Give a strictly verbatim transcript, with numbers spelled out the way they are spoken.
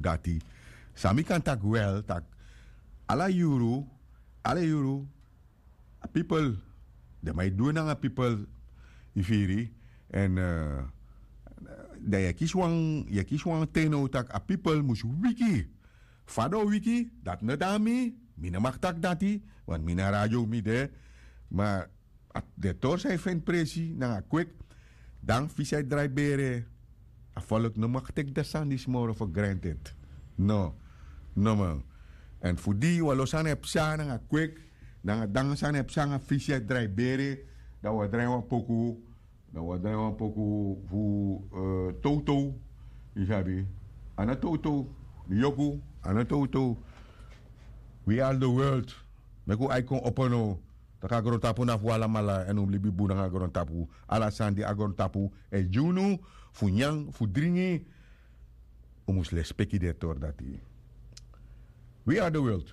Dati san mi kan taki wel taki ala yuru, ala yuru a pipel, den man e du en nanga pipel. Yu firi? Èn dan yu e kisi wan yu e kisi wan ten now tak' a pipel mus wiki. Fa den o wiki, dati no de na mi. Mi no mag taki dati, want mi na radio mi de. Ma den tori san yu feni presi nanga kwik, dan fisi e drai bere. A folk no mag teki den sani disi moro for granted. No. No man. Èn fu di wan lo sani e psa nanga kwik, nanga dan sani e psa nanga fisi e drai bere, dan wi o drai wan poku. Dan wi o drai wan poku fu towtow. Yu sabi? A no towtow. Yoku. A no towtow. We are the world. Meki un ai kon opo now. Taki a grontapu na fu alamala èn un mus libi bun nanga grontapu. Ala sani di a grontapu e gi unu fu nyan, fu dringi, un mus lespeki den tori dati. We are the world.